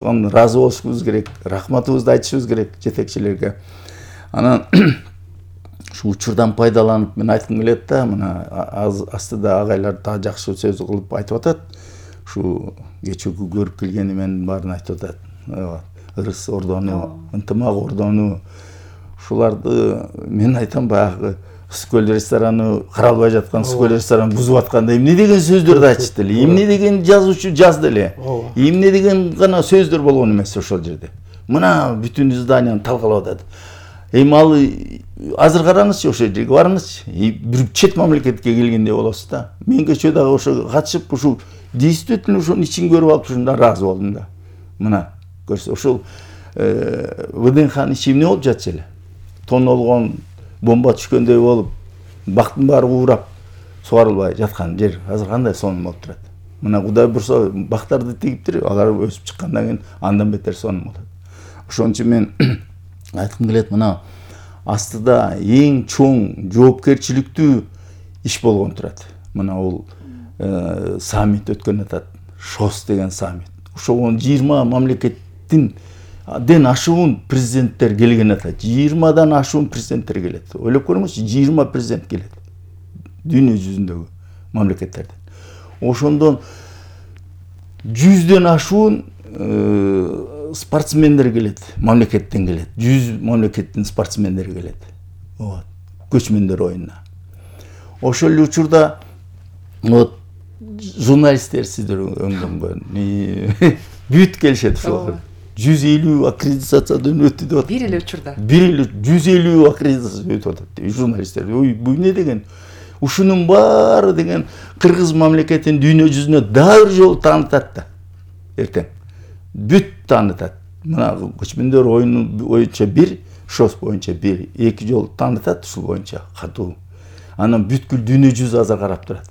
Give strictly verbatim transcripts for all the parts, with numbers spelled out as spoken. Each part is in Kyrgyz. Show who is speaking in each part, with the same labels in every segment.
Speaker 1: Разы болушубуз керек, рахматыбызды айтышыбыз керек жетекчилерге. Анан ушу учурдан пайдаланып мен айткым келет да, мына астыда агайлар так жакшы сөз кылып айтып атат. Ушу кечүүгү көрүп келгени менин баарын айтып атат. Ырыс ордону, ынтымак ордону, ушуларды мен айтам баягы Скөл рестораны каралбай жаткан Скөл рестораны бузуп атканда эмне деген сөздөрдү айтышты эле, эмне деген жазуучу жазды эле, эмне деген гана сөздөр болгон эмес ошол жерде. Мына бүтүн изданияны талкалап атат. Эми ал азыр караңызчы, ошол жерге барыңызчы. Бир чет мамлекетке келгендей болосуз да. Мен кечээ дагы ошо катышып, ушул действительно ошонун ичин көрүп алып ушунда ыраазы болдум да. Мына көрсө, ошол ВДНХнын ичи эмне болуп жатчу эле. Тонолгон, бомба түшкөндөй болуп, бактын баары уурап сугарылбай жаткан жер азыр кандай сонун болуп турат. Мына Кудай бурса бактарды тигиптир, алар өсүп чыккандан кийин андан бетер сонун болот. Ошон үчүн мен айткым келет, мына астыда эң чоң жоопкерчиликтүү иш болгон турат. Мына бул саммит өткөн атат, ШОС деген саммит. Ошого жыйырма мамлекеттин ден ашуун президенттер келген атат. жыйырмадан ашуун президенттер келет. Ойлоп көрүңүзчү, жыйырма президент келет. Дүйнө жүзүндөгү мамлекеттерден. Ошондон жүздөн ашуун спортсмендер келет, мамлекеттен келет. жүз мамлекеттин спортсмендери келет. Вот, көчмөндөр оюнуна. Ошол эле учурда вот журналисттер сиздер өңдөнгөн бүт келишет ошол. жүз элүү аккредитациядан өттү деп атат.
Speaker 2: Бир эле учурда.
Speaker 1: Бир эле жүз элүү аккредитация өтүп атат. Журналисттер, ой, бул эмне деген? Ушунун баары деген Кыргыз мамлекетин дүйнө жүзүнө дагы бир жолу таанытат да. Эртең. Бүт таанытат. Мына көчмөндөр оюну боюнча бир, ШОС боюнча бир, эки жолу таанытат ушул боюнча катуу. Анан бүткүл дүйнө жүзү азыр карап турат.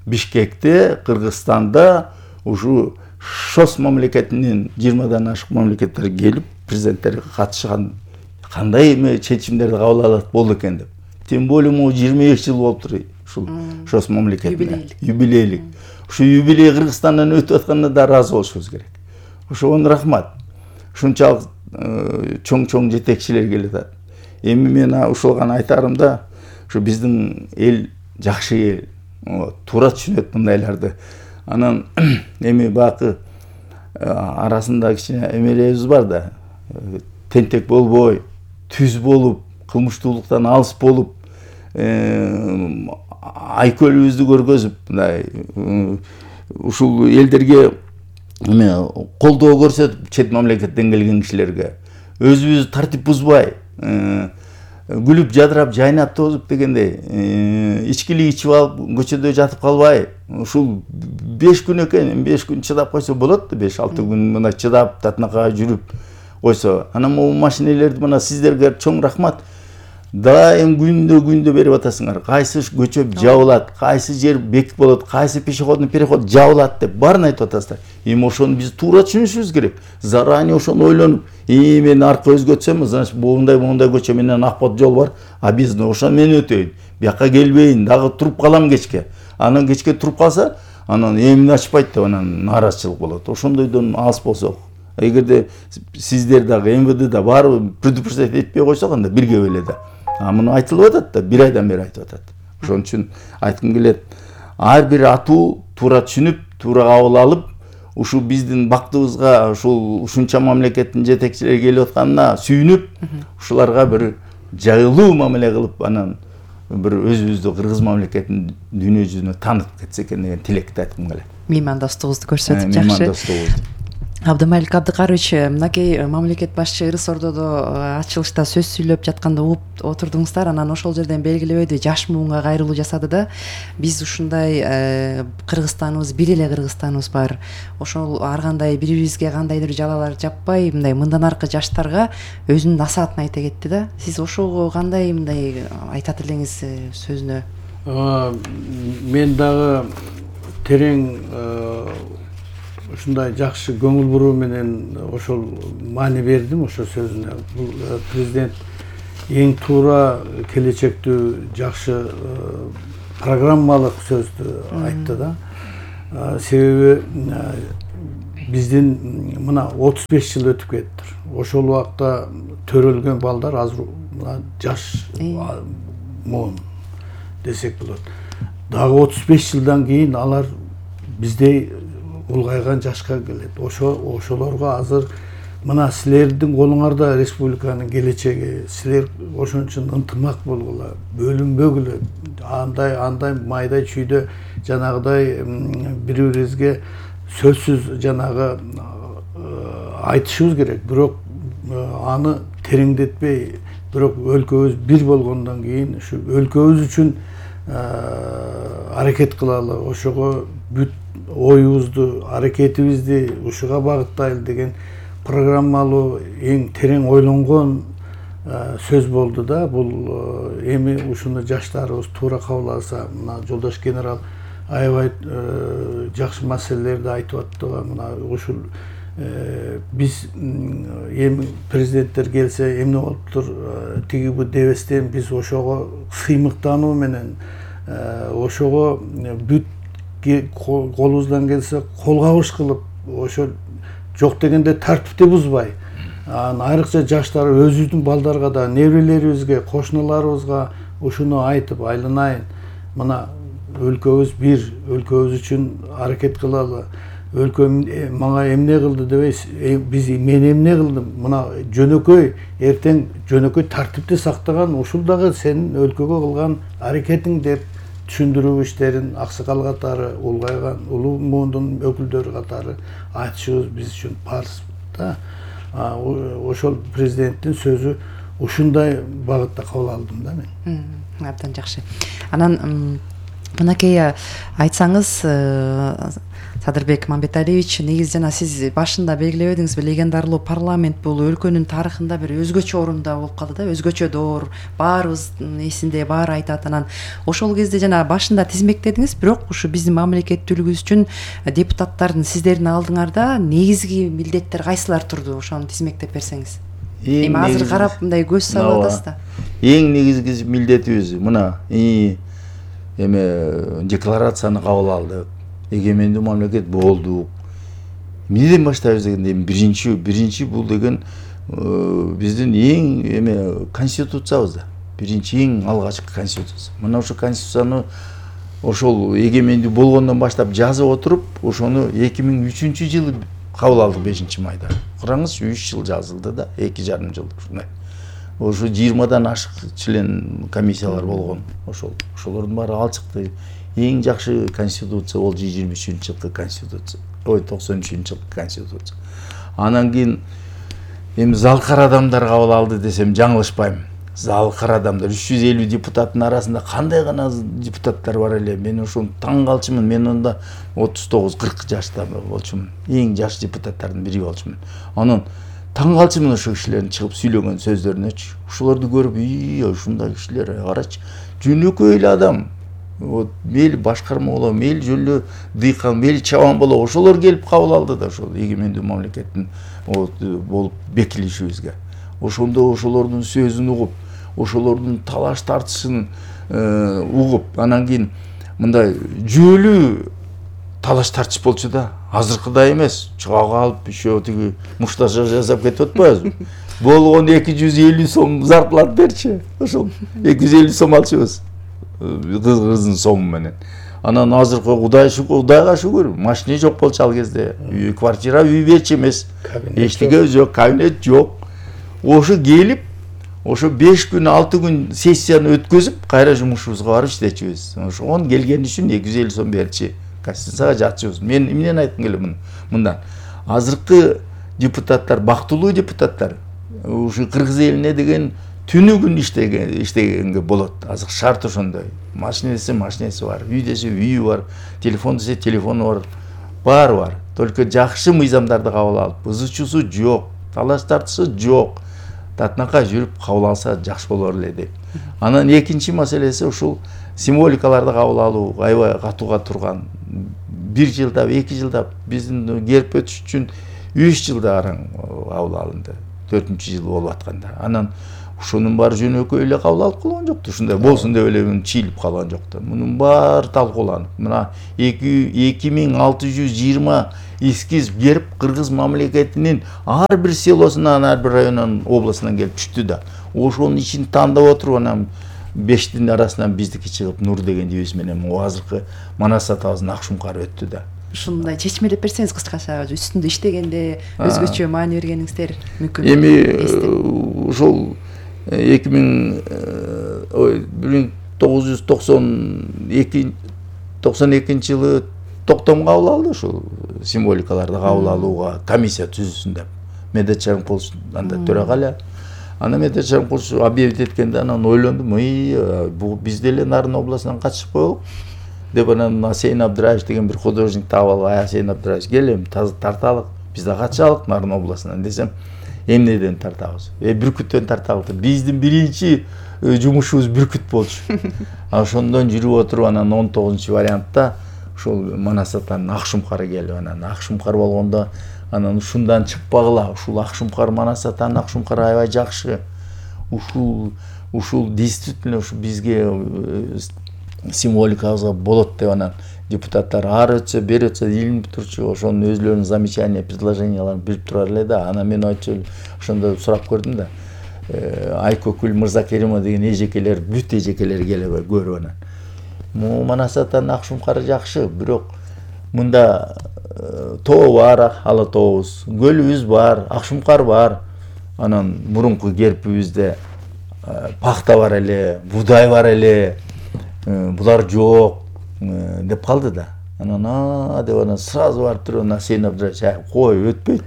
Speaker 1: Бишкекте, Кыргызстанда ушу ШОС мамлекетинин жыйырмадан ашык мамлекеттер келип, президенттер катышкан кандай эме чечимдерди кабыл алат болду экен деп. Тем более могу жыйырма эки жыл болуптур ушул ШОС мамлекетине. Юбилейлик. Ушу юбилей Кыргызстандан өтүп атканына да ыраазы болушубуз керек. Ошого рахмат. Ушунчалык чоң-чоң жетекчилер келип атат. Эми мен ушул гана айтарым да, ушу биздин эл жакшы эл, туура түшүнөт мындайларды. Анан эми бакы арасында кичине эмелебиз бар да. Тентек болбой, түз болуп, кылмыштуулуктан алыс болуп, айкөлүбүздү көргөзүп, мындай ушул элдерге эме колдоо көрсөтүп, чет мамлекеттен келген кишилерге өзүбүз тартип бузбай, күлүп жадырап жайнап тозуп дегендей, ичкилик ичип алып көчөдө жатып калбай, ушул беш күн экен, беш күн чыдап койсо болот да, беш алты күн мына чыдап татынакка жүрүп койсо. Анан могу машинелерди мына сиздерге чоң рахмат. Дайым күндө күндө берип атасыңар. Кайсы көчө жабылат, кайсы жер бекит болот, кайсы пешеходный переход жабылат деп баарын айтып атасыздар. Эми ошону биз туура түшүнүшүбүз керек. Заранее ошону ойлонуп, эми мен аркы өзгөтсөм, значит, моундай моундай көчө менен акбат жол бар, а биз ошону мен өтөйүн. Бияка келбейин, дагы туруп калам кечке. Анан кечке туруп калса, анан эмне ачпайт деп анан нааразычылык болот. Ошондойдон алыс болсок, эгерде сиздер дагы МВД да баары предупреждать этпей койсок, анда бирге эле да. А муну айтылып атат да, бир айдан бери айтып атат. Ошон үчүн айткым келет, ар бир атуу туура түшүнүп, туура кабыл алып, ушу биздин бактыбызга ушул ушунча мамлекеттин жетекчилери келип атканына сүйүнүп, ушуларга бир жайылуу мамиле кылып, анан бир өзүбүздү Кыргыз мамлекетин дүйнө жүзүнө таанытып кетсе экен деген тилекти айткым келет.
Speaker 2: Меймандостугубузду көрсөтүп жакшы.
Speaker 1: Меймандостугубузду.
Speaker 2: Абдымалик Абдыкарович, мынакей мамлекет башчы Ырыс ордодо ачылышта сөз сүйлөп жатканда угуп отурдуңуздар, анан ошол жерден белгилебейди, жаш муунга кайрылуу жасады да. Биз ушундай Кыргызстаныбыз, бир эле Кыргызстаныбыз бар. Ошол ар кандай бири-бирибизге кандайдыр жалалар жаппай, мындай мындан аркы жаштарга өзүнүн насаатын айта кетти да. Сиз ошого кандай мындай айтат элеңиз сөзүнө?
Speaker 3: Мен дагы терең ушундай жакшы көңүл буруу менен ошол маани бердим ошол сөзүнө. Бул президент эң туура келечектүү жакшы программалык сөздү айтты да. Себеби биздин мына отуз беш жыл өтүп кетти. Ошол убакта төрөлгөн балдар азыр жаш муун десек болот. Дагы отуз беш жылдан кийин алар биздей улгайган жашка келет. Ошо ошолорго азыр мына силердин колуңарда республиканын келечеги, силер ошон үчүн ынтымак болгула, бөлүнбөгүлө, андай андай майда чүйдө жанагыдай бири-бирибизге сөзсүз жанагы айтышыбыз керек. Бирок аны тереңдетпей, бирок өлкөбүз бир болгондон кийин ушу өлкөбүз үчүн аракет кылалы, ошого бүт оюбузду, аракетибизди ушуга багыттайлы деген программалуу, эң терең ойлонгон сөз болду да. Бул эми ушуну жаштарыбыз туура кабыл алса, мына жолдош генерал аябай жакшы маселелерди айтып аттыбы. Мына ушул биз эми президенттер келсе эмне болуптур тиги бу дебестен биз ошого сыймыктануу менен, ошого бүт колубуздан келсе кол кабыш кылып, ошо жок дегенде тартипти бузбай, айрыкча жаштар өзүбүздүн балдарга да, неберелерибизге, кошуналарыбызга ушуну айтып, айланайын, мына өлкөбүз бир, өлкөбүз үчүн аракет кылалы, өлкөм мага эмне кылды дебейсиз, биз мен эмне кылдым, мына жөнөкөй эртең жөнөкөй тартипти сактаган, ушул дагы сенин өлкөгө кылган аракетиң деп түшүндүрүү иштерин аксакал катары, улгайган улуу муундун өкүлдөрү катары айтышыбыз биз үчүн парыз да. Ошол президенттин сөзү ушундай багытта кабыл алдым да мен.
Speaker 2: Абдан жакшы. Анан мынакей айтсаңыз, Садырбек Мамбеталиевич, негизи жана сиз башында белгилеп эдиңиз, легендарлуу парламент бул өлкөнүн тарыхында бир өзгөчө орунда болуп калды да, өзгөчө доор, баарыбыздын эсинде, баары айтат. Анан ошол кезде жана башында тизмектедиңиз, бирок ушу биздин мамлекеттүүлүгүбүз үчүн депутаттардын сиздердин алдыңарда негизги милдеттер кайсылар турду? Ошону тизмектеп берсеңиз. Эми азыр карап мындай көз салып атасыз да.
Speaker 1: Эң негизги милдетибиз мына эме декларацияны кабыл алдык. Эгемендүү мамлекет болдук. Эмнеден баштайбыз дегенде биринчи биринчи бул деген биздин эң эме конституциябыз да. Биринчи эң алгачкы конституция. Мына ошо конституцияны ошол эгемендүү болгондон баштап жазып отуруп, ошону эки миң үчүнчү жылы кабыл алдык бешинчи майда. Караңыз, үч жыл жазылды да, эки жарым жыл ушундай. Ошо жыйырмадан ашык член комиссиялар болгон. Ошол ошолордун баары ал чыкты. Эң жакшы конституция ол жыйырма үчүнчү жылкы конституция. Ой, токсон үчүнчү жылкы конституция. Анан кийин эми залкар адамдар кабыл алды десем жаңылышпайм. Залкар адамдар үч жүз элүү депутаттын арасында кандай гана депутаттар бар эле. Мен ошону таң калчумун. Мен онда отуз тогуз кырк жашта болчумун. Эң жаш депутаттардын бири болчумун. Анан таң калчумун ошо кишилердин чыгып сүйлөгөн сөздөрүнөчү. Ошолорду көрүп, ий, ушундай кишилер, карачы, жөнөкөй эле адам. Вот мели башкарма боло, мели жөлө дыйкан, мели чабан боло, ошолор келип кабыл алды да ошол эгемендүү мамлекеттин болуп бекилишибизге. Ошондо ошолордун сөзүн угуп, ошолордун талаш тартышын угуп, анан кийин мындай жүйөлүү талаш тартыш болчу да. Азыркыдай эмес, чыгак алып, еще тиги мушташа жасап кетип атпайбызбы? Болгон эки жүз элүү сом зарплат берчи. Ошол эки жүз элүү сом алчубуз. Кыздын сому менен. Анан азыркы Кудай шүгүр, Кудайга шүгүр, машина жок болчу ал кезде. Үй, квартира үй берчи эмес. Эчтеке жок, кабинет жок. Ошо келип, ошо беш күн, алты күн сессияны өткөзүп, кайра жумушубузга барып иштечүбүз. Ошон келген үчүн эки жүз элүү сом берчи. Конституцияга жатчыбыз. Мен эмнени айткым келем мындан? Азыркы депутаттар, бактылуу депутаттар, ушу кыргыз элине деген түнү күн иштеген иштегенге болот. Азыр шарт ошондой. Машина десе машинеси бар, үй десе үйү бар, телефон десе телефону бар, баары бар. Только жакшы мыйзамдарды кабыл алып, ызычуусу жок, талаш тартышы жок. Татынакай жүрүп кабыл алса жакшы болор эле дейт. Анан экинчи маселеси ушул символикаларды кабыл алуу, аябай катууга турган. Бир жылдап, эки жылдап, биздин келип өтүш үчүн үч жылда араң кабыл алынды. төртүнчү жыл болуп атканда. Анан ушунун баары жөнөкөй эле кабыл алып калган жок да, ушундай болсун деп эле чийилип калган жок да. Мунун баары талкууланып, мына эки миң алты жүз жыйырма эскиз берип кыргыз мамлекетинин ар бир селосунан, ар бир районунан, областынан келип түштү да. Ошонун ичин тандап отуруп анан бештин арасынан биздики чыгып Нур деген жебиз менен азыркы Манас атабыздын Акшумкар өттү да.
Speaker 2: Ушундай чечмелеп берсеңиз кыскача, үстүндө иштегенде өзгөчө маани бергениңиздер мүмкүн.
Speaker 1: Эми ошол эки миң бир миң тогуз жүз токсон экинчи жылы токтом кабыл алды ушул символикаларды кабыл алууга комиссия түзүлсүн деп. Медет Шарипулович анда төрага эле. Ана Медет Шарипулович объявить эткенде анан ойлондум, бул биз деле Нарын областынан катышып коелук деп, анан Асейин Абдыраев деген бир художник таап алып, Асейин Абдыраев келем тарталык, биз да катышалык Нарын областынан десем, эмнеден тартабыз? Э бүркүттөн тартабыз. Биздин биринчи жумушубуз бүркүт болчу. Ошондон жүрүп отуруп анан он тогузунчу вариантта ушул Манас атанын Акшумкары келип, анан Акшумкар болгондо анан ушундан чыкпагыла, ушул Акшумкар Манас атанын Акшумкары аябай жакшы. Ушул ушул действительно ушу бизге символикабызга болот деп анан депутаттар ар өтсө, бери өтсө илинип турчу, ошонун өзлөрүнүн замечания, предложенияларын берип турар эле да. Анан мен айтчу ошондо сурап көрдүм да. Айкөкүл Мырзакеримова деген эжекелер, бүт эжекелер келип көрүп анан. Му Манас атанын Акшумкары жакшы, бирок мында тоо бар, ала тообуз, көлүбүз бар, Акшумкар бар. Анан мурунку гербибизде пахта бар эле, будай бар эле, булар жок деп калды да. Анан а деп анан сразу барып туруп анан Асейин Абдыраев кой өтпөйт.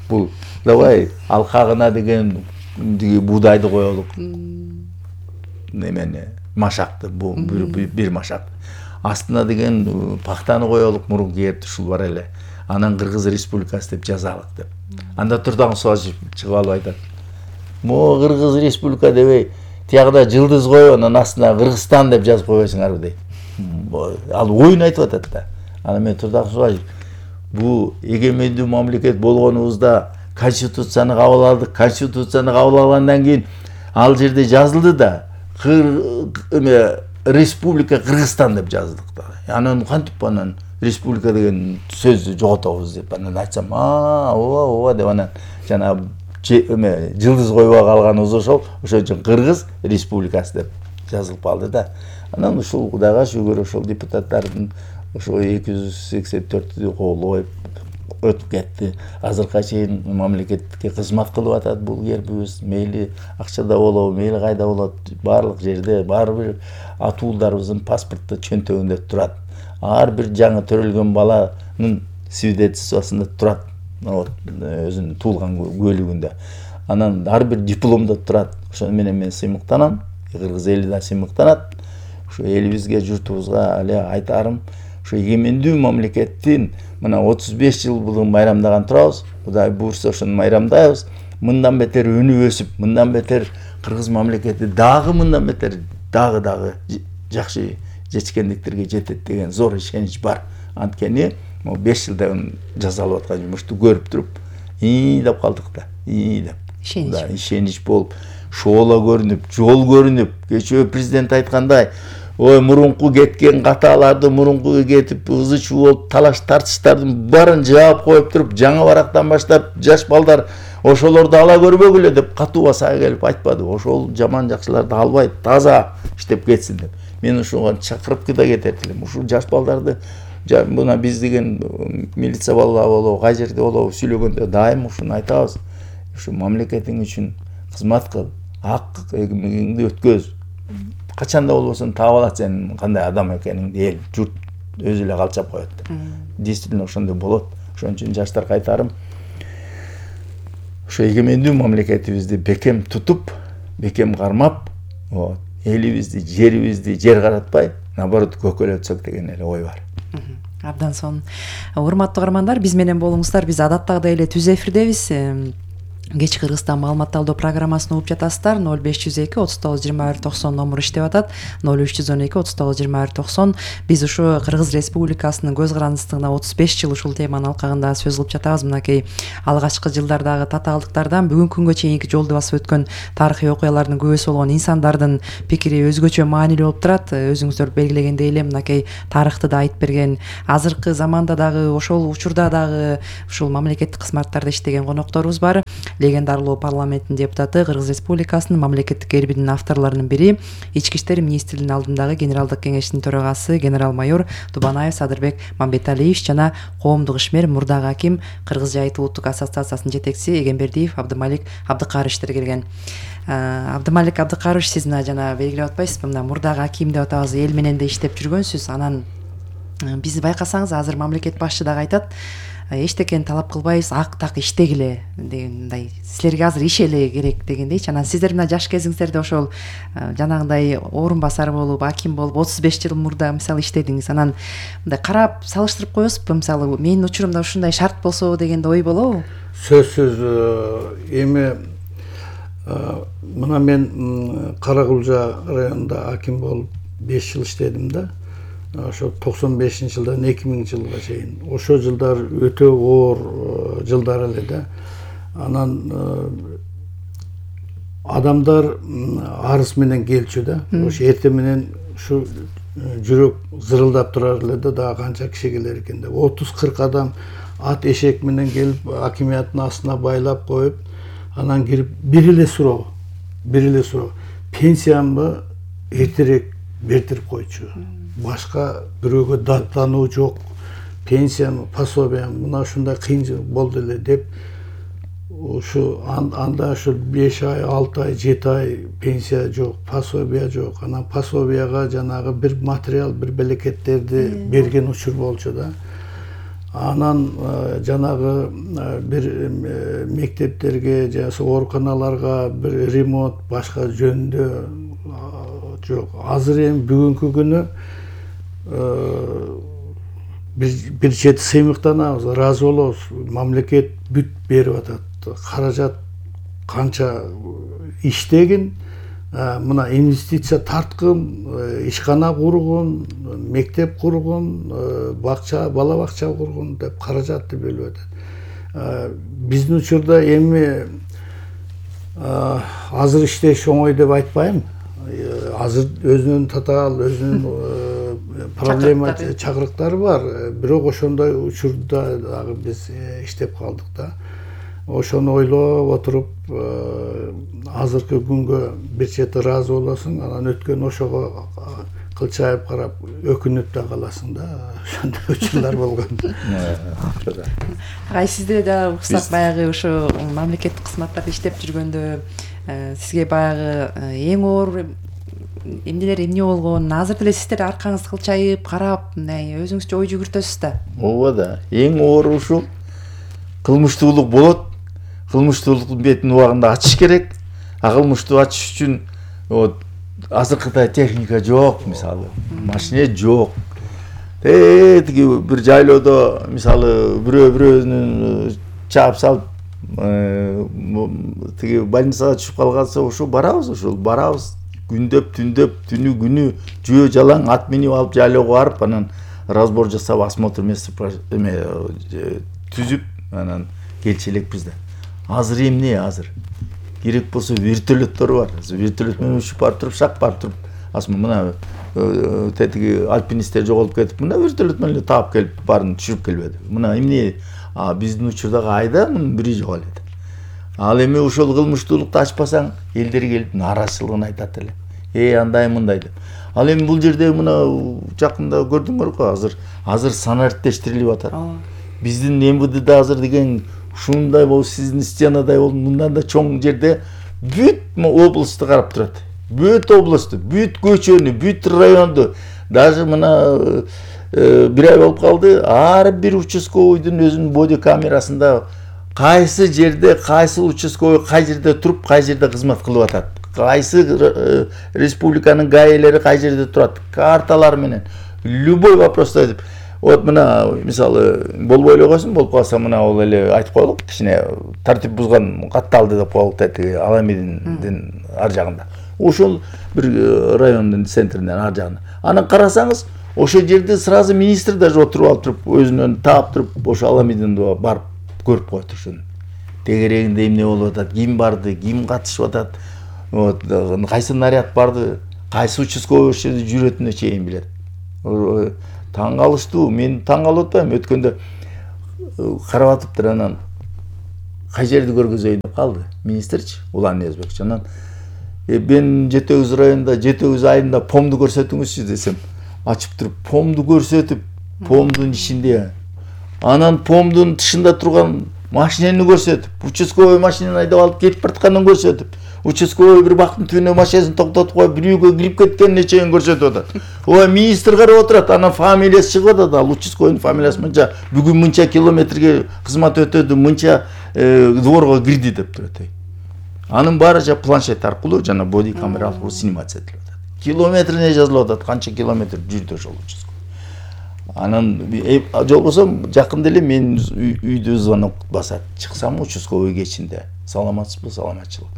Speaker 1: Бул давай алкагына деген будайды коелук. Немени машакты, бул бир машак. Астына деген пахтаны коелук, мурунку герб ушул бар эле. Анан Кыргыз Республикасы деп жазалык деп. Анда турдан Суажип чыгып алып айтат. Мо Кыргыз Республика дебей, тиягда жылдыз коюп, анан астына Кыргызстан деп жазып койбойсуңарбы дейт. Ал оюн айтып атат да. Анан мен турдан Суажип, бу эгемендүү мамлекет болгонубузда конституцияны кабыл алдык. Конституцияны кабыл алгандан кийин ал жерде жазылды да, Республика Кыргызстан деп жаздык да. Анан кантип анан республика деген сөздү жоготобуз деп анан айтсам, а ооба ооба деп анан жана жылдыз койбой калганыбыз ошол, ошон үчүн Кыргыз Республикасы деп жазылып калды да. Анан ушул Кудайга шүгүр ошол депутаттардын ошо эки жүз сексен төртү колдоп өтүп кетти. Азыркыга чейин мамлекетке кызмат кылып атат бул гербибиз. Мейли акчада болобу, мейли кайда болот, баардык жерде ар бир атуулдарыбыздын паспортто чөнтөгүндө турат. Ар бир жаңы төрөлгөн баланын свидетельствосунда турат, өзүнүн туулган куөлүгүндө. Анан ар бир дипломдо турат. Ошону менен мен сыймыктанам, кыргыз эли да сыймыктанат. Ушу элибизге, журтубузга эле айтарым, ушу эгемендүү мамлекеттин мына отуз беш жылдыгын майрамдаган турабыз. Кудай буйрса ошону майрамдайбыз. Мындан бетер өнүп өсүп, мындан бетер кыргыз мамлекети дагы мындан бетер дагы дагы жакшы жетишкендиктерге жетет деген зор ишенич бар. Анткени могу беш жылдан жасалып аткан жумушту көрүп туруп, ии деп калдык да. ии деп.
Speaker 2: Ишенич.
Speaker 1: Да, ишенич болуп, шоола көрүнүп, жол көрүнүп, кечээ президент айткандай, ой мурунку кеткен каталарды, мурунку кетип ызы чуу болуп талаш тартыштардын баарын жаап коюп туруп, жаңы барактан баштап жаш балдар ошолорду ала көрбөгүлө деп катуу басага келип айтпады. Ошол жаман жакшыларды албай таза иштеп кетсин деп. Мен ушуга чакырып да кетет элем. Ушул жаш балдарды мына биз деген милиция балалары болобу, кай жерде болобу сүйлөгөндө дайым ушуну айтабыз. Ушу мамлекетиң үчүн кызмат кыл, ак эгемеңди өткөз. Качанда болбосун таап алат сен кандай адам экениңди эл, журт өзү эле калчап коет. Действительно ошондой болот. Ошон үчүн жаштарга айтарым, ошо эгемендүү мамлекетибизди бекем тутуп, бекем кармап, элибизди, жерибизди жер каратпай, наоборот көкөлөтсөк деген эле ой бар.
Speaker 2: Абдан сонун. Урматтуу каармандар, биз менен болуңуздар. Биз адаттагыдай эле түз эфирдебиз. кеч Кыргызстан маалымат алуу программасын угуп жатасыздар. ноль беш жүз эки отуз тогуз жыйырма бир токсон номуру иштеп атат. ноль үч жүз он эки отуз тогуз жыйырма бир токсон. Биз ушу Кыргыз Республикасынын көз карандысыздыгына отуз беш жыл ушул теманын алкагында сөз кылып жатабыз. Мынакей алгачкы жылдардагы татаалдыктардан бүгүнкү күнгө чейинки жолду басып өткөн тарыхый окуялардын күбөсү болгон инсандардын пикири өзгөчө маанилүү болуп турат. Өзүңүздөр белгилегендей эле мынакей тарыхты да айтып берген, азыркы заманда дагы ошол учурда дагы ушул мамлекеттик кызматтарда иштеген конокторубуз бар. Легендарлуу парламенттин депутаты, Кыргыз Республикасынын мамлекеттик эрбинин авторлорунун бири, Ички иштер министринин алдындагы генералдык кеңештин төрагасы генерал-майор Дубанаев Садырбек Мамбеталиевич жана коомдук ишмер, мурдагы аким, Кыргыз жайыты улуттук ассоциациясынын жетекчиси Эгембердиев Абдымалик Абдыкарычтер келген. Абдымалик Абдыкарыч, сиз мына жана белгилеп атпайсызбы, мына мурдагы аким деп атабыз, эл менен да иштеп жүргөнсүз. Анан бизди байкасаңыз, азыр мамлекет башчы дагы айтат, эчтекени талап кылбайбыз, ак так иштегиле дегендей, силерге азыр иш эле керек дегендейчи. Анан сиздер мына жаш кезиңиздерде ошол жанагындай орун басар болуп, аким болуп отуз беш жыл мурда мисалы иштедиңиз. Анан мындай карап салыштырып коесузбу, мисалы менин учурумда ушундай шарт болсо деген ой болобу?
Speaker 3: Сөзсүз. Эми мына мен Каракулжа районунда аким болуп беш жыл иштедим да. Ошо токсон бешинчи жылдан эки миңинчи жылга чейин. Ошо жылдар өтө оор жылдар эле да. Анан адамдар арыз менен келчү да. Ошо эртең менен ушу жүрөк зырылдап турар эле да, дагы канча киши келер экен деп. отуз кырк адам ат эшек менен келип акимияттын астына байлап коюп, анан кирип бир эле суроо, бир эле суроо. Пенсиямды эртерээк бертирип койчу. Башка бирөөгө даттануу жок. Пенсиям, пособиям мына ушундай кыйын болду эле деп, ушу анда ушу беш ай, алты ай, жети ай пенсия жок, пособия жок. Анан пособияга жанагы бир материал, бир белекеттерди берген учур болчу да. Анан жанагы бир мектептерге, жана ооруканаларга бир ремонт, башка жөндөө жок. Азыр эми бүгүнкү күнү бир чети сыймыктанабыз, ыраазы болобуз. Мамлекет бүт берип атат. Каражат канча иштегин, мына инвестиция тарткын, ишкана кургун, мектеп кургун, бакча, бала бакча кургун деп каражатты бөлүп атат. Биздин учурда эми азыр иштеш оңой деп айтпайм. Азыр өзүнүн татаал, өзүнүн проблема чакырыктары бар. Бирок ошондой учурда дагы биз иштеп калдык да. Ошону ойлоп отуруп, азыркы күнгө бир чети ыраазы болосуң, анан өткөн ошого кылчайып карап өкүнүп да каласың да. Ошондой учурлар болгон.
Speaker 2: Ай, сизде да уксак баягы ушу мамлекеттик кызматтарда иштеп жүргөндө сизге баягы эң оор эмнелер эмне болгон, азыр деле сиздер аркаңыз кылчайып карап, мындай өзүңүзчө ой жүгүртөсүз да.
Speaker 1: Ооба да, эң оору ушул кылмыштуулук болот. Кылмыштуулуктун бетин убагында ачыш керек. А кылмыштуу ачыш үчүн вот азыркыдай техника жок, мисалы, машина жок. Э, тиги бир жайлоодо мисалы бирөө бирөөнүн чаап салып, тиги больницага түшүп калганса, ошо барабыз, ошол барабыз. Күндөп, түндөп, түнү күнү жөө жалаң ат минип алып жайлоого барып, анан разбор жасап, осмотр эме түзүп, анан келчү элекпиз да. Азыр эмне азыр? Керек болсо вертолеттор бар. Вертолет менен учуп барып туруп, шак барып туруп, асма мына тетиги альпинисттер жоголуп кетип, мына вертолет менен таап келип барын түшүрүп келбеди. Мына эмне? А биздин учурдагы айда мунун бири жок эле. Ал эми ошол кылмыштуулукту ачпасаң, элдер келип нааразычылыгын айтат эле. Э, андай мындай деп. Ал эми бул жерде мына жакында көрдүңөр го, азыр азыр санариптештирилип атат. Биздин эм вэ дэ азыр деген ушундай болуп, сиздин стенадай болуп, мындан да чоң жерде бүт областты карап турат. Бүт областты, бүт көчөнү, бүт районду, даже мына бир ай болуп калды, ар бир участковойдун өзүнүн боди камерасында кайсы жерде, кайсы участковой кай жерде туруп, кай жерде кызмат кылып атат. Кайсы республиканын гаэлери кай жерде турат, карталар менен любой вопросту айтып. Вот мына мисалы болбой эле койсун, болуп калса мына ол эле айтып коелук, кичине тартип бузган катталды деп коелук да, тиги Аламидиндин ар жагында. Ошол бир райондун центринен ар жагында. Анан карасаңыз, ошол жерде сразу министр даже отуруп алып туруп, өзүнөн таап туруп, ошо Аламидинди барып көрүп коет ушуну. Тегерегинде эмне болуп атат, ким барды, ким катышып атат, вот кайсы наряд барды, кайсы участковый ошол жерде жүрөтүнө чейин билет. Таң калыштуу, мен таң калып атпайм, өткөндө карап атыптыр, анан кай жерди көргөзөйүн деп калды министрчи, Улан Ниязбекович. Анан мен жети сегиз районунда жети сегиз айында помду көрсөтүңүзчү десем, ачып туруп помду көрсөтүп, помдун ичинде, анан помдун тышында турган машинени көрсөтүп, участковый машинени айдап алып кетип баратканын көрсөтүп, участковый бир бактын түбүнө машинесин токтотуп коюп, бирөөгө кирип кеткенин чейин көрсөтүп атат. Ой, министр карап отурат, анан фамилиясы чыгып атат, ал участковыйдун фамилиясы мынча, бүгүн мынча километрге кызмат өтөдү, мынча дворго кирди деп турат. Анын баары жа планшет аркылуу жана боди камера аркылуу снимация этилип атат. Километрине жазылып атат, канча километр жүрдү ошол участковый. Анан жолбосо жакында эле мен үйдө звонок басат. Чыксам участковый кечинде. Саламатсызбы, саламатчылык.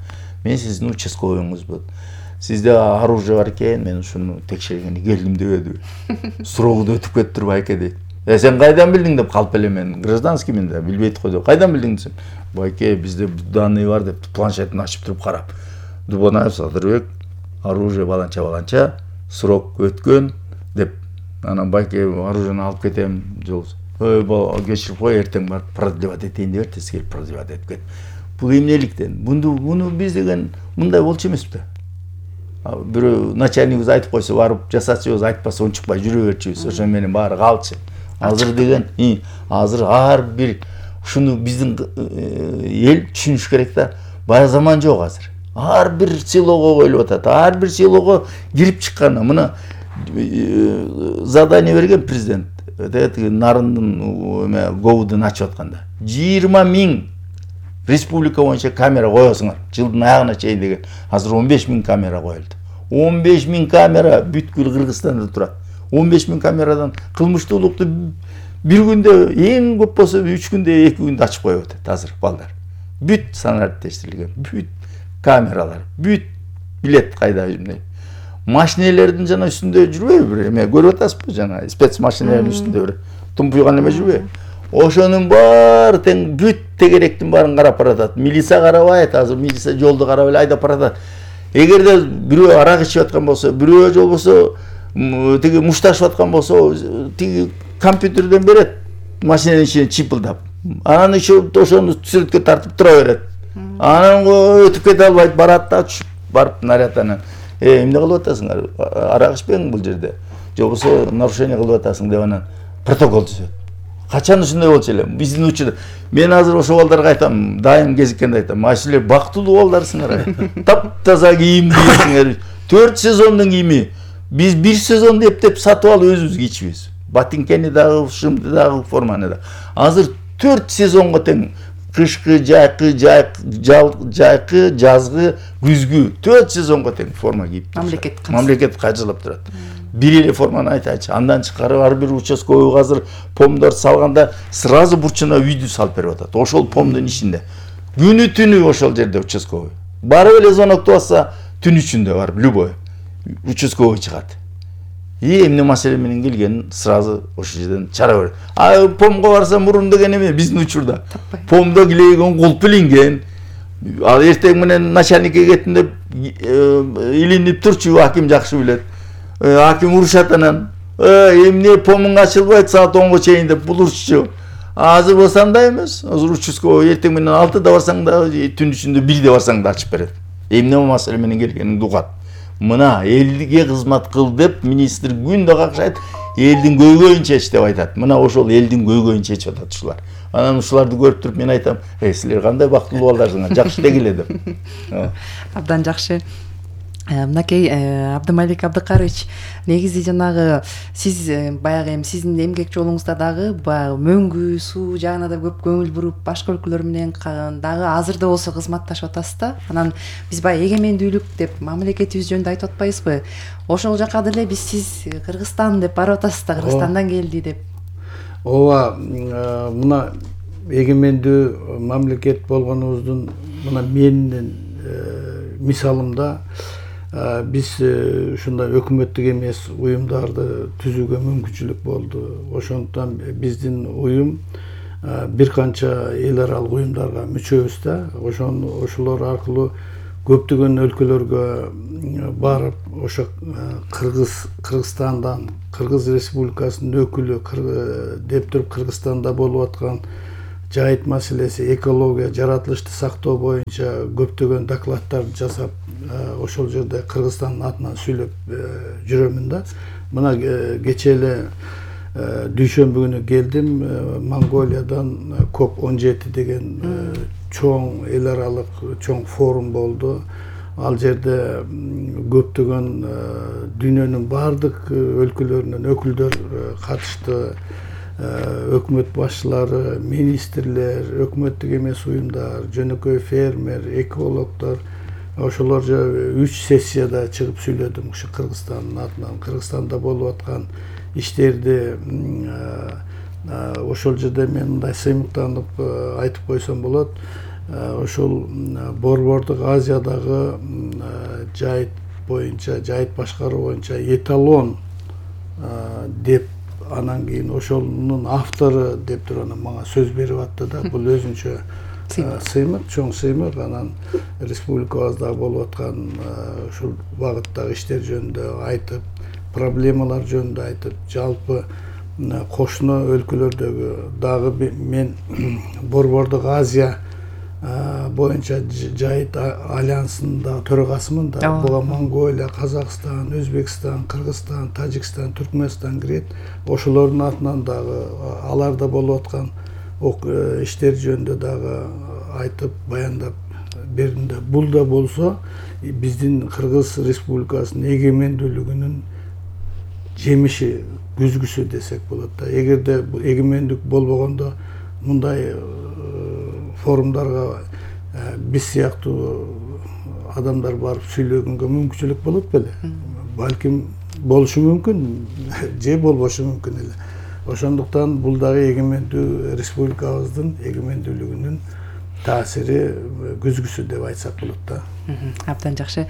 Speaker 1: Мен сиздин участковыйңызбын. Сизде оружие бар экен, мен ушуну текшергени келдим дебедиби. Сурооду өтүп кетиптир байке дейт. Э сен кайдан билдиң деп калып эле мен гражданскиймин да, билбейт го деп. Кайдан билдиң десем, байке бизде данные бар деп планшетин ачып туруп карап. Дубонаев Садырбек, оружие баланча баланча, срок өткөн деп. Анан байке оружияны алып кетем, жол. Ой, бала кечирип кой, эртең барып продлевать этейин деп тез келип продлевать этип кет. Бул эмнеликтен? Мунду муну биз деген мындай болчу эмеспи? Бирөө начальнигибиз айтып койсо барып жасачыбыз, айтпаса унчукпай жүрө берчүбүз. Ошо менен баары калчу. Азыр деген, азыр ар бир ушуну биздин эл түшүнүш керек да. Бая заман жок азыр. Ар бир селого коюлуп атат. Ар бир селого кирип чыкканы. Мына задание берген президент. Нарындын говудун ачып атканда. жыйырма миң республика боюнча камера коесуңар. Жылдын аягына чейин деген. Азыр он беш миң камера коюлду. он беш миң камера бүткүл Кыргызстанда турат. он беш миң камерадан кылмыштуулукту бир күндө, эң көп болсо үч күндө, эки күндө ачып коюп атат азыр балдар. Бүт санариптештирилген, бүт камералар, бүт билет кайда эмне. Машинелердин жана үстүндө жүрбөйбү бир эме көрүп атасызбы жана спец машинелердин үстүндө бир тумпуйган эме жүрбөйбү. Ошонун баары тең бүт тегеректин баарын карап баратат. Милиция карабайт, азыр милиция жолду карап эле айдап баратат. Эгерде бирөө арак ичип аткан болсо, бирөө жолбосо тиги мушташып аткан болсо, тиги компьютерден берет машинанын ичине чипылдап. Анан иши ошону сүрөткө тартып тура берет. Анан өтүп кете албайт, барат да түшүп барып наряданан. Э, эмне кылып атасыңар? Арак ичпең бул жерде. Жобосо нарушение кылып атасың деп анан протокол түзөт. Качан ушундай болчу эле? Биздин учурда мен азыр ошол балдарга айтам, дайым кезиккенде айтам, силер бактылуу балдарсыңар. Таптаза кийимдисиңер. төрт сезондун кийими. Биз бир сезонду эптеп сатып алып өзүбүз кийчүбүз. Ботинкени дагы, шымды дагы, форманы да. Азыр төрт сезонго тең кышкы, жайкы, жайкы, жазгы, күзгү төрт сезонго тең форма кийип.
Speaker 2: Мамлекет
Speaker 1: мамлекет каржылап турат. Бир эле форманы айтачы. Андан чыккары ар бир участковый азыр помдор салганда сразу бурчуна үйдү салып берип атат. Ошол помдун ичинде. Күнү түнү ошол жерде участковый. Барып эле звонокту басса, түн ичинде барып любой участковый чыгат. И эмне маселе менен келгенин сразу ошол жерден чара берет. А помго барса мурун деген эме биздин учурда. Помдо килеген кулп илинген. Ал эртең менен начальникке кеттим деп илинип турчу, аким жакшы билет. Аким урушат анан. Эмне помуң ачылбайт саат онго чейин деп булурчу. Азыр болсо андай эмес. Азыр участковый эртең менен алтыда барсаң да, түн ичинде бирде барсаң да ачып берет. Эмне маселе менен келгениңди угат. Мына элге кызмат кыл деп министр күндө какшайт, элдин көйгөйүн чеч деп айтат. Мына ошол элдин көйгөйүн чечип атат ушулар. Анан ушуларды көрүп туруп мен айтам, "Эй, силер кандай бактылуу балдарсыңар, жакшы дегиле" деп.
Speaker 2: Абдан жакшы. Мынакей Абдымалик Абдыкарович, негизи жанагы сиз баягы эми сиздин эмгек жолуңузда дагы баягы мөңгү, суу жагына да көп көңүл буруп, башка өлкөлөр менен дагы азыр да болсо кызматташып атасыз да. Анан биз баягы эгемендүүлүк деп мамлекетибиз жөнүндө айтып атпайбызбы? Ошол жака деле биз сиз Кыргызстан деп барып атасыз да, Кыргызстандан келди деп.
Speaker 3: ооба мына эгемендүү мамлекет болгонубуздун мына менин мисалымда биз ушундай өкмөттүк эмес уюмдарды түзүүгө мүмкүнчүлүк болду. Ошондуктан биздин уюм бир канча эл аралык уюмдарга мүчөбүз да. Ошон ошолор аркылуу көптөгөн өлкөлөргө барып, ошо Кыргыз Кыргызстандан, Кыргыз Республикасынын өкүлү деп туруп Кыргызстанда болуп аткан жайыт маселеси, экология, жаратылышты сактоо боюнча көптөгөн докладдарды жасап, ошол жерде Кыргызстандын атынан сүйлөп жүрөмүн да. Мына кечээ эле дүйшөмбү күнү келдим, Монголиядан коп он жети деген чоң эл аралык чоң форум болду. Ал жерде көптөгөн дүйнөнүн баардык өлкөлөрүнөн өкүлдөр катышты. Өкмөт башчылары, министрлер, өкмөттүк эмес уюмдар, жөнөкөй фермер, экологдор, ошолор үч сессияда чыгып сүйлөдүм ушу Кыргызстандын атынан. Кыргызстанда болуп аткан иштерди ошол жерде мен мындай сыймыктанып айтып койсом болот. Ошол Борбордук Азиядагы жайыт боюнча, жайыт башкаруу боюнча эталон деп, анан кийин ошонун автору деп туруп анан мага сөз берип атты да. Бул өзүнчө сыймык, чоң сыймык. Анан республикабызда болуп аткан ушул багыттагы иштер жөнүндө айтып, проблемалар жөнүндө айтып, жалпы кошуна өлкөлөрдөгү дагы мен Борбордук Азия боюнча жайыт альянсынын да төрагасымын да. Буга Монголия, Казакстан, Өзбекстан, Кыргызстан, Тажикстан, Түркмөнстан кирет. Ошолордун атынан дагы аларда болуп аткан иштер жөнүндө дагы айтып, баяндап бердим да. Бул да болсо биздин Кыргыз Республикасынын эгемендүүлүгүнүн жемиши, күзгүсү десек болот да. Эгерде эгемендик болбогондо мындай форумдарга биз сыяктуу адамдар барып сүйлөгөнгө мүмкүнчүлүк болот беле? Балким болушу мүмкүн, же болбошу мүмкүн эле. Ошондуктан бул дагы эгемендүү республикабыздын эгемендүүлүгүнүн таасири, күзгүсү деп айтсак болот да.
Speaker 2: Абдан жакшы.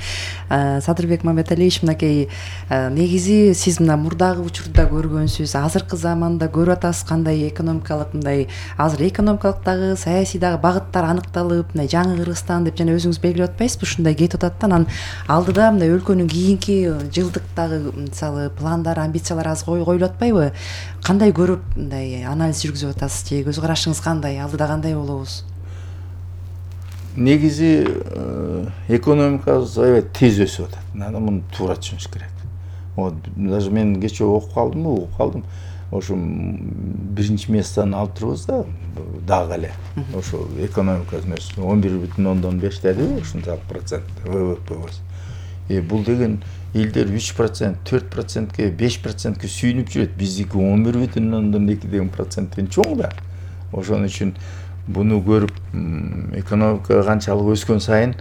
Speaker 2: Садырбек Маматалиевич, мынакей негизи сиз мына мурдагы учурда көргөнсүз, азыркы заманда көрүп атасыз кандай экономикалык мындай азыр экономикалык дагы, саясий дагы багыттар аныкталып, мындай жаңы Кыргызстан деп жана өзүңүз белгилеп атпайсызбы, ушундай кетип атат да. Анан алдыда мындай өлкөнүн кийинки жылдыктагы мисалы пландар, амбициялар аз коюлуп атпайбы? Кандай көрүп мындай анализ жүргүзүп атасыз же көз карашыңыз кандай? Алдыда кандай болобуз?
Speaker 1: Негизи экономикабыз аябай тез өсүп атат. Анан муну туура түшүнүш керек. Вот даже мен кечээ окуп калдым, угуп калдым. Ошо биринчи месттен алып турбуз да, дагы эле. Ошо экономикабыз он бир бүтүн ондон беш деди, ушунчалык процент вэ вэ пэбиз. Э бул деген элдер үч процент, төрт процентке, беш процентке сүйүнүп жүрөт. Биздики он бир бүтүн ондон эки деген проценттен чоң да. Ошон үчүн буну көрүп, экономика канчалык өскөн сайын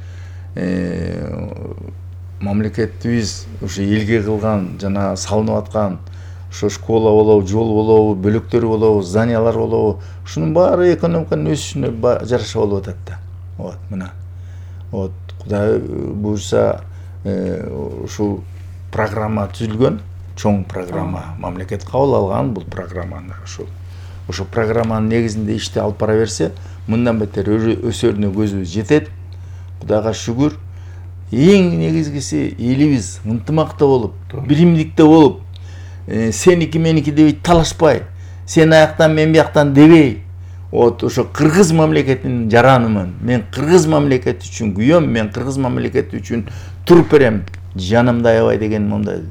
Speaker 1: мамлекетибиз ушу элге кылган жана салынып аткан ошо школа болобу, жол болобу, бөлөктөр болобу, зданиялар болобу, ушунун баары экономиканын өсүшүнө жараша болуп атат да. Вот мына. Вот Кудай буйрса ушул программа түзүлгөн, чоң программа, мамлекет кабыл алган бул программаны. Ушул Ошо программанын негизинде ишти алып бара берсе, мындан бетер өсөрүнө көзүбүз жетет. Кудайга шүгүр. Эң негизгиси элибиз ынтымакта болуп, биримдикте болуп, сеники меники дебей талашпай, сен аяктан мен бияктан дебей, вот ошо кыргыз мамлекетинин жаранымын. Мен кыргыз мамлекети үчүн күйөм, мен кыргыз мамлекети үчүн туруп берем. Жанымда аябай деген мындай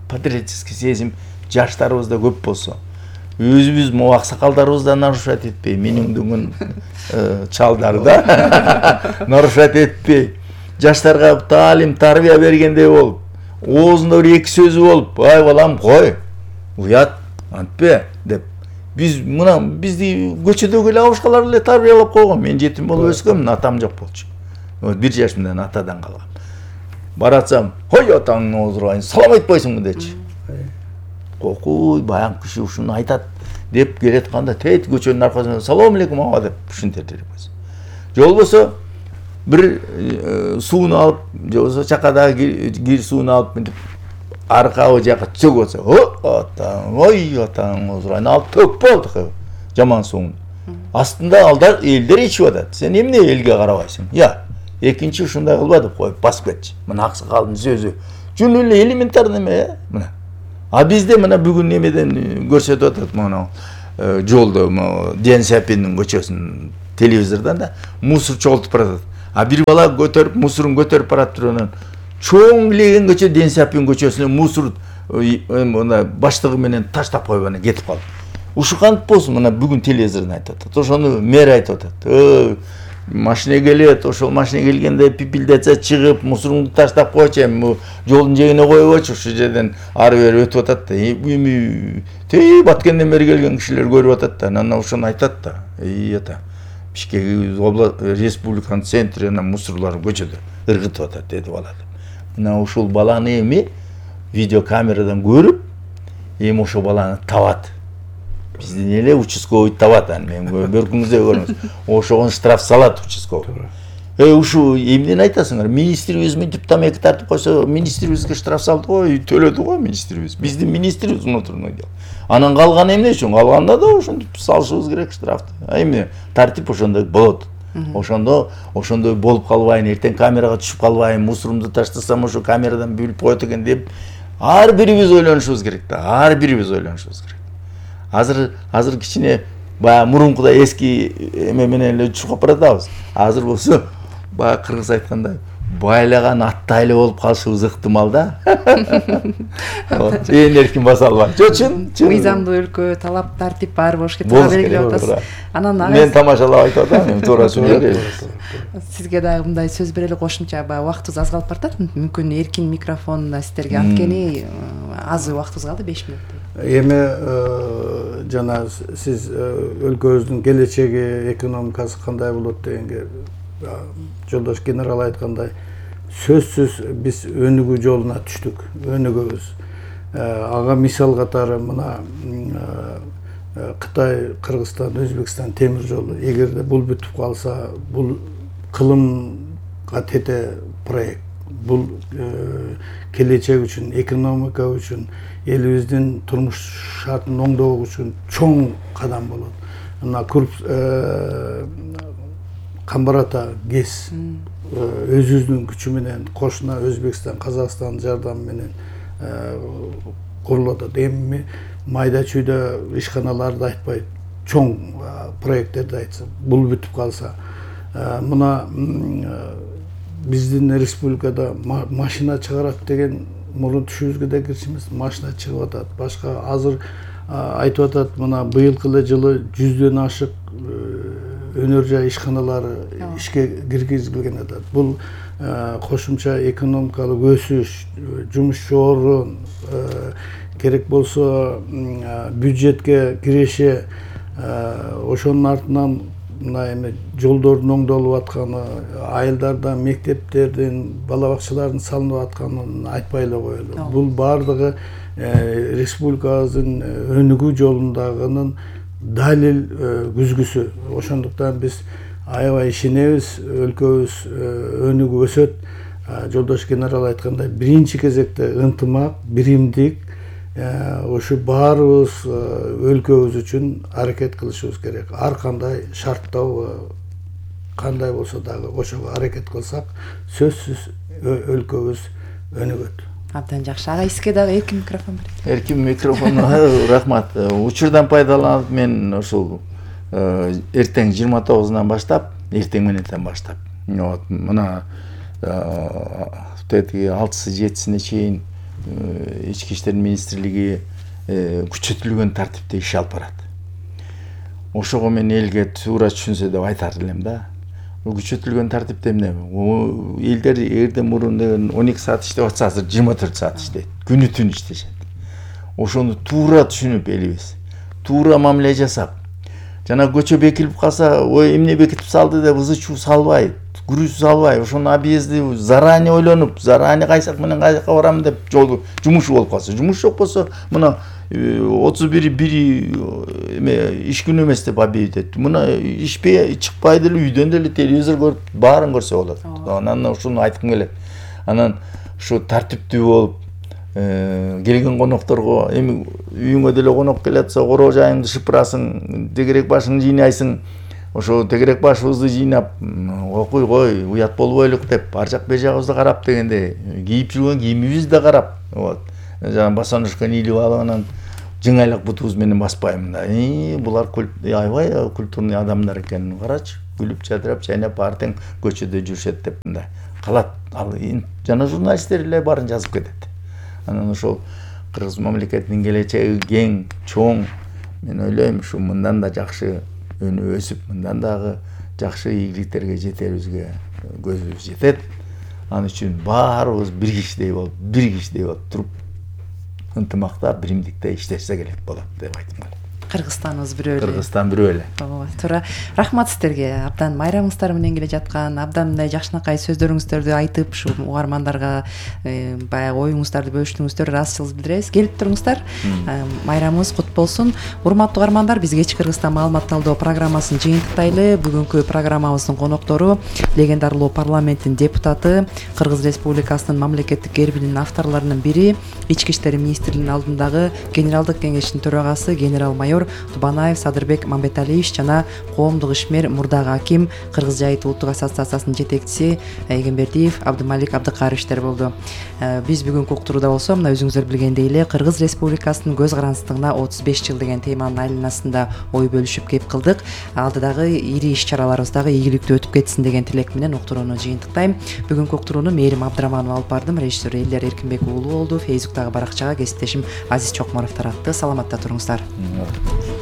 Speaker 1: патриотический сезим жаштарыбызда көп болсо. Өзүбүз могу аксакалдарыбыздан нарушать этпей, менин дүнгүн чалдар да нарушать этпей, жаштарга таалим, тарбия бергендей болуп, оозунда бир эки сөзү болуп, ай балам кой, уят, антпе деп. Биз мына бизди көчөдөгү эле абышкалар эле тарбиялап койгон. Мен жетим болуп өскөм, атам жок болчу. бир жаш менен атадан калгам. Баратсам, "Хой атаңны оздурайын, салам айтпайсыңбы" дечи. окуй баягы киши ушуну айтат деп келатканда тет көчөнүн аркасынан салам алейкум аба деп ушинтер элебиз. Же болбосо бир сууну алып, же болбосо чакадагы кир сууну алып мынтип аркабы жака чөгүп атса, о атаң, ой атаң, озурайын алып төк болду жаман сууну. Астында алдар элдер ичип атат. Сен эмне элге карабайсың? Я, экинчи ушундай кылба деп коюп басып кетчи. Мына аксакалдын сөзү жөн эле элементарный эме, мына. А бизде мына бүгүн немеден көрсөтүп атат мына жолдо Ден Сяпиндин көчөсүн телевизордон да мусор чогултуп баратат. А бир бала көтөрүп мусорун көтөрүп барат турганан чоң леген көчө Ден Сяпин көчөсүнө мусор мына баштыгы менен таштап коюп анан кетип калды. Ушу кантип болсун, мына бүгүн телевизордон айтып атат. Ошону мэр айтып атат. Машина келет, ошол машина келгенде пипилдесе чыгып, мусорунду таштап койчу, эми жолдун жээгине коебойчу, ушул жерден ары бери өтүп атат да. Эми тей Баткенден бери келген кишилер көрүп атат да, анан ошону айтат да. Эй ата, Бишкек область республиканын центрине мусорлор көчөдө ыргытып атат деди бала. Мына ушул баланы эми видеокамерадан көрүп, эми ошол баланы табат. Биздин эле участковый табат, мен көркүңүздө көрүңүз. Ошого штраф салат участковый. Э ушу эмнени айтасыңар? Министрибиз мынтип тамеки тартып койсо, министрибизге штраф салды го, төлөдү го министрибиз. Биздин министрибиз внутренний дел. Анан калганы эмне үчүн? Калганда да ошентип салышыбыз керек штрафты. А эми тартип ошондой болот. Ошондо ошондой болуп калбайын, эртең камерага түшүп калбайын, мусорумду таштасам ошо камерадан билип коет экен деп ар бирибиз ойлонушубуз керек да. Ар бирибиз ойлонушубуз керек. Азыр азыр кичине баягы мурункудай эски эме менен эле чукуп баратабыз. Азыр болсо баягы кыргыз айткандай байлаган аттай эле болуп калышыбыз ыктымал да. Ээн эркин баса албайт. Жо чын, чын.
Speaker 2: Мыйзамдуу өлкө, талап тартип баары болушу туура белгилеп атасыз.
Speaker 1: Анан мен тамашалап айтып атам, эми туура сүйлөйт.
Speaker 2: Сизге дагы мындай сөз берели кошумча, баягы убактыбыз аз калып баратат. Мүмкүн эркин микрофон сиздерге анткени аз убактыбыз калды, беш мүнөт.
Speaker 3: Эми жана сиз өлкөбүздүн келечеги, экономикасы кандай болот дегенге жолдош генерал айткандай, сөзсүз биз өнүгүү жолуна түштүк, өнүгөбүз. Ага мисал катары мына Кытай, Кыргызстан, Өзбекстан темир жолу. Эгерде бул бүтүп калса, бул кылымга тете проект. Бул келечек үчүн, экономика үчүн, элибиздин турмуш шартын оңдоо үчүн чоң кадам болот. Мына Камбарата ГЭС өзүбүздүн күчү менен кошуна Өзбекстан, Казакстан жардамы менен курулуп атат. Эми майда чүйдө ишканаларды айтпай, чоң проекттерди айтса, бул бүтүп калса, мына биздин республикада машина чыгарат деген мурун түшүбүзгө да кирчи эмес, машина чыгып атат. Башка азыр айтып атат, мына быйылкы эле жылы жүздөн ашык өнөр жай ишканалары ишке киргизилген атат. Бул кошумча экономикалык өсүш, жумушчу орун, керек болсо бюджетке киреше, ошонун артынан мына эми жолдордун оңдолуп атканы, айылдарда мектептердин, бала бакчалардын салынып атканын айтпай эле коелу. Бул баардыгы республикабыздын өнүгүү жолундагынын далил күзгүсү. Ошондуктан биз аябай ишенебиз, өлкөбүз өнүгүп өсөт. Жолдош генерал айткандай, биринчи кезекте ынтымак, биримдик, ошо баарыбыз өлкөбүз үчүн аракет кылышыбыз керек. Ар кандай шарттоо кандай болсо дагы ошого аракет кылсак, сөзсүз өлкөбүз өнүгөт.
Speaker 2: Абдан жакшы. Ага сизге дагы эркин микрофон берет.
Speaker 1: Эркин микрофон, рахмат. Учурдан пайдаланып мен ошол эртең жыйырма тогузунан баштап, эртең мененден баштап, вот мына тетиги алтысы жетисине чейин ички иштер министрлиги күчөтүлгөн тартипте иш алып барат. Ошого мен элге туура түшүнсө деп айтар элем да. Бул күчөтүлгөн тартипте эмне? Элдер эгерде мурун он эки саат иштеп атса, азыр жыйырма төрт саат иштейт. Күнү түн иштешет. Ошону туура түшүнүп элибиз, туура мамиле жасап, жана көчө бекилип калса, ой эмне бекитип салды деп ызы чуу салбай, күрүз салбай ошону объезди заранее ойлонуп, заранее кайсак менен каяка барам деп жолу жумушу болуп калса, жумуш жок болсо мына отуз бир бири эме иш күнү эмес деп объявить мына ишпей чыкпай деле үйдөн деле телевизор көрүп баарын көрсө болот. Анан ушуну айткым келет. Анан ушу тартиптүү болуп келген конокторго эми үйүңө деле конок келе атса короо жайыңды шыпырасың, тегерек башыңды жыйнайсың. Ошо тегерек башыбызды жыйнап, окуй кой, уят болбойлук деп, ар жак бер жагыбызды карап дегенде, кийип жүргөн кийимибизди да карап, вот. Жана босоножканы илип алып анан жыңайлак бутубуз менен баспаймын да. И булар аябай культурный адамдар экенин карачы, күлүп жадырап, чайнап баары тең көчөдө жүрүшөт деп мындай калат. Ал жана журналисттер эле баарын жазып кетет. Анан ошол кыргыз мамлекетинин келечеги кең, чоң. Мен ойлойм, ушу мындан да жакшы өсүп, мындан дагы жакшы ийгиликтерге жетерибизге көзүбүз жетет. Ал үчүн баарыбыз бир кишидей болуп, бир кишидей болуп туруп, ынтымакта, биримдикте иштешсе керек болот деп айткым келет.
Speaker 2: Кыргызстаныбыз бирөө эле.
Speaker 1: Кыргызстан бирөө эле.
Speaker 2: Ооба, туура. Рахмат сиздерге. Абдан майрамыңыздар менен келе жаткан, абдан мындай жакшынакай сөздөрүңүздөрдү айтып, ушу угармандарга баягы оюңуздарды бөлүштүңүздөр, ыраазычылыгыбызды билдиребиз. Келип туруңуздар. Майрамыбыз кут болсун. Урматтуу угармандар, биз кечки Кыргызстан маалымат талдоо программасын жыйынтыктайлы. Бүгүнкү программабыздын коноктору легендарлуу парламенттин депутаты, Кыргыз Республикасынын мамлекеттик гербинин авторлорунун бири, Ички иштер министрлигинин алдындагы генералдык кеңештин төрагасы генерал-майор Тубанаев Садырбек Мамбеталиевич жана коомдук ишмер, мурдагы аким, Кыргыз жайыт улуттук ассоциациясынын жетекчиси Эгембердиев Абдымалик Абдыкаровичтер болду. Биз бүгүнкү уктурууда болсо, мына өзүңүздөр билгендей эле Кыргыз Республикасынын көз карандысындыгына отуз беш жыл деген теманын айланасында ой бөлүшүп кеп кылдык. Алдыдагы ири иш-чараларыбыз дагы ийгиликтүү өтүп кетсин деген тилек менен уктурууну жыйынтыктайм. Бүгүнкү уктурууну Мээрим Абдыраманова алып бардым, режиссер Элдер Эркинбек уулу болду. Фейсбуктагы баракчага кесиптешим Азиз Чокморов таратты. Саламатта туруңуздар.